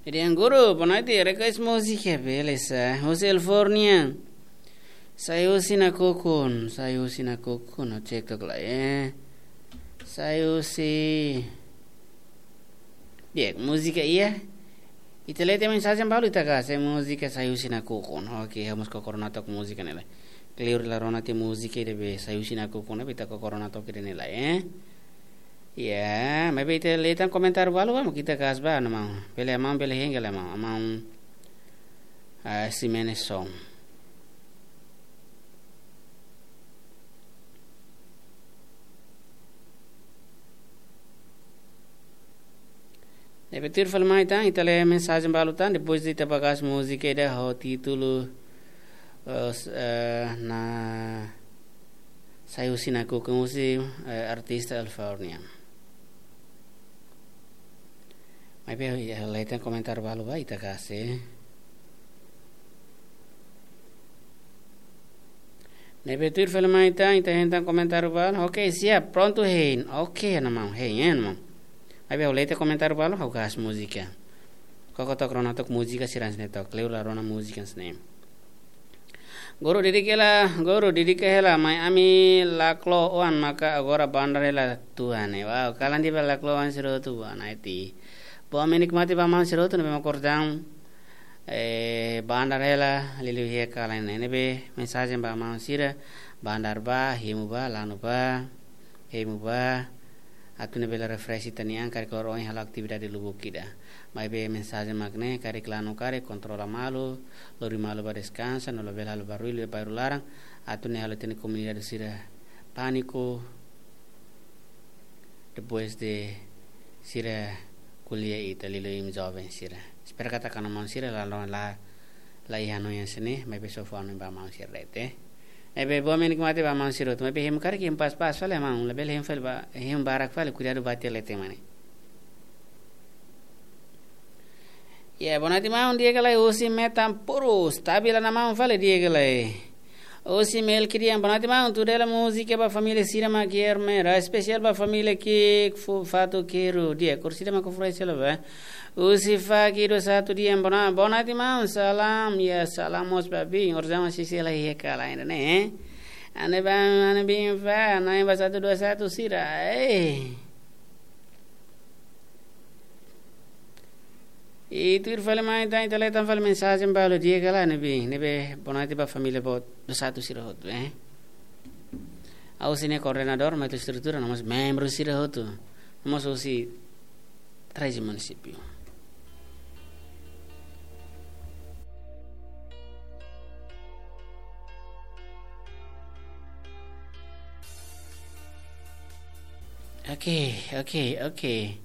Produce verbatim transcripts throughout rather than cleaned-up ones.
Irian guru, boa noite, request múzika, beleza. Husi Elfornia. Sai husi nakukun, sai husi nakukun, no cek tok lai, eh. Sai husi. Di'ak, múzika iha. Ita lee tiha mensajen balu ita ka, sai múzika sai husi nakukun. Oke, ha'u mós koko rona tok múzika ne'e lai. Kleur la rona tiha múzika ida be sai husi nakukun, be ita koko rona tok ida ne'e lai, eh. Ya, maibé ita lee tan komentáriu balu, vamos, ita gas ba, no mau. Bele amau, bele hengel amau, amau, ah, Ximenes Song. Ne'ebé tuir fali mai tan, ita lee mensajen balu tan, depois de ita ba gas múzika ida ho títulu, eh, s-, eh, na sai husi nakukun husi, eh, artista Elfornia. Maibé, ya, lee tan komentáriu balu ba, ita kasi. Ne'ebé tuir fali mai tan, ita hein tan komentáriu balu. Oke, siap, prontu hein. Oke, no mau, hein, eh, no mau. Maibé, ha'u lee tiha komentáriu balu, ha'u gas múzika. Koko tok rona tok múzika sira hanesan ne'e tok, kleur la rona múzika hanesan ne'e. Guru dedika hela, guru dedika hela, mai ami laklo oan maka agora bandar hela tuan ne'e. Wow, kalan di'ak ba laklo oan sira hotu ba naiti. Bom menikmati ba maun sira hotu ne'ebé mak kordang, eh, bandar hela, liuliu iha kalan ne'e. Ne'ebé mensajen ba maun sira, bandar ba, hemu ba, lanu ba, hemu ba, atu nune'e bele refresh ita-nia an, karik loroloron ohin halo atividade lubuk ida. Maibé mensajen mak ne'e, karik lanu karik, kontrola malu, lori malu ba deskansa, no labele halo barullu iha bairru laran, atu nune'e halo ita-nia komunidade sira pániku, depois de sira ko'alia ita liuliu imi joven sira. Espera katak ha'u-nia maun sira la, la, la, la iha hanoin hanesan ne'e, maibé só fó hanoin ba maun sira de'it. Ne'ebé bom menikmati ba maun sira hotu, maibé hemu karik hemu pas-pas fali maun, labele hemu fali ba, hemu barak fali, kuidadu ba tiha leten mane. Ya, boa noite maun, di'ak ka lae, husi Metan Purus, tabila na maun fali, di'ak ka lae. Husi Melkidian, boa noite maun, tuir hela múzika ba família sira mak iha Ermera, espesiál ba família ki'ik fu-, Fatu Keru, di'ak, kursi ida mak fura sela ba. Husi Faki dua satu di'ak, boa no-, boa noite maun, salam, ya, salam mós ba biin, orsida mak sisi lai iha kalan ne'e, eh. Ane ba, ane biin fa, na'in ba satu dua satu sira, eh. I tuir fali mai tan, ita lee tan fali mensajen balu, di'ak ka lae, ne'ebé, ne'ebé boa noite ba família boot dua satu sira hotu, eh. Ha'u husi nia koordenadór, mai husi estrutura, no mós membru sira hotu. No mós husi treze munisípiu. Oke, oke, oke.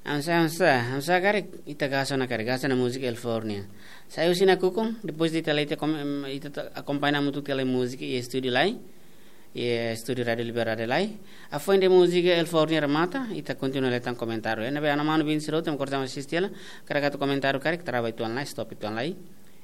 Amsa, amsa, amsa karik, ita gas ona karik, gas ona múzika Elfornia. Sai husi nakukun, depois de ita lee tiha kom-, em, ita ta-, akompaña hamutuk tiha lai múzika iha estúdiu lai. Iha estúdiu Rádiu Liberdade lai. Hafoin de múzika Elfornia remata, ita kontinua lee tan komentáriu. Ne'ebé ha'u-nia manu biin sira hotu mak kordang asiste hela, karik atu komentáriu karik, trava uitoan lai, stop uitoan lai.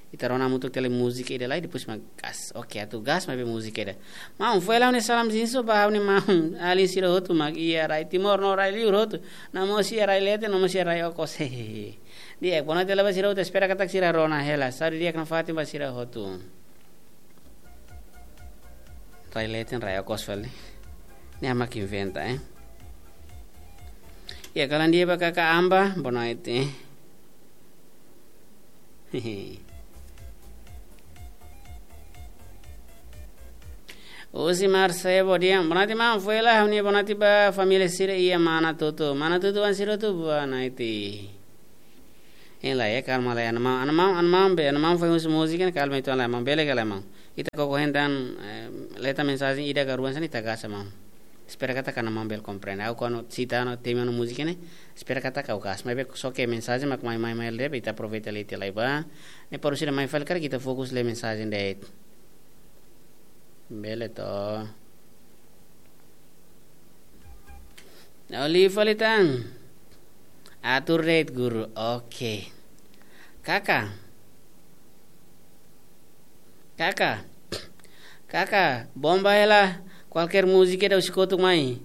Ita rona hamutuk tiha lai múzika ida lai, depois mak gas. Oke, atu gas maibé múzika ida. Maun, foin hela ha'u-nia salam zinso ba ha'u-nia maun alin sira hotu mak iha rai Timor no rai liur hotu. No mós iha rai leten, no mós iha rai okos. Di'ak, boa noite hela ba sira hotu, espera katak sira rona hela. Saúde di'ak nafatin ba sira hotu. Rai leten, rai okos fali. Ne'e mak inventa, eh. Ya, kalan di'ak ba kaka Amba, boa noite. Husi Marsebo di'ak, boa noite maun, foin hela ha'u-nia boa noite ba família sira iha Manatutu. Manatutu oan sira hotu, boa noite. Hein lai, eh, kalma lai, ha'u-nia maun, ha'u-nia maun, ha'u-nia maun be, ha'u-nia maun foin husu múzika ne'e, kalma uitoan lai, maun, bele ka lae maun. Ita koko hein tan, eh, lee tan mensajen ida ka rua hanesan ne'e, ita gas maun. Espera katak ha'u-nia maun bele komprende. Ha'u kuandu sita no temi no múzika ne'e, espera katak ha'u gas. Maibé só ke mensajen mak mai, mai, mai de'it, ita aproveita lee tiha lai ba. Ne'e para sira mai fali karik ita fokus lee mensajen de'it. Bele to. Oli fali tan. Atur de'it guru. Oke. Kaka. Kaka. Kaka, bomba hela kualkér múzika ida husi kotuk mai.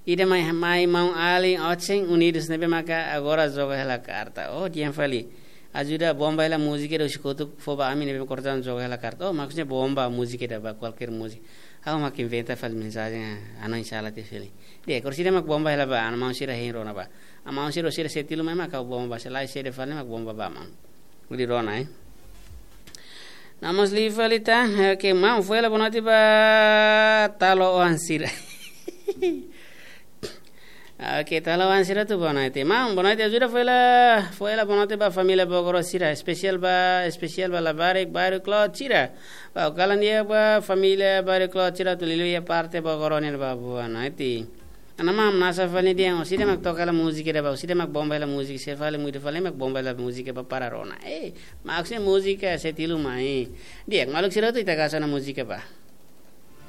Ida mai, mai maun alin Otseng Unidos ne'ebé maka agora joga hela karta. Oh, di'ak fali. ajuda bomba hela múzika ida husi kotuk fó ba ami ne'ebé mak kortan joga hela karta. Oh, maksudnya bomba múzika ida ba kualkér múzika. Ha'u mak inventa fali mensajen, ah, anu insala te fali. Di'ak, orsida mak bomba hela ba, anu maun sira hein rona ba. Amaun sira, sira setilu mai mak ha'u bomba, se lae sede fali mak bomba ba maun. Hodi rona, eh. Namas li fali ta, oke, maun, fó hela boa noite ba talo oan sira. Oke, talo oan sira tu boa noite. Maun, boa noite, ajuda fó hela, fó hela boa noite ba família Bogoro sira, espesiál ba, espesiál ba labarik, bairru Klot sira. Ba, kalan di'ak ba família bairru Klot sira, atu liuliu iha parte Bogoro nian ba boa noite. Ana maun, nasa fali di'ak, orsida mak toka hela múzika ida ba, orsida mak bomba hela múzika, se fali muitu fali mak bomba hela múzika ba para rona. Eh, maksudnya múzika setilu mai. Di'ak, maluk sira hotu ita gosta ona múzika ba.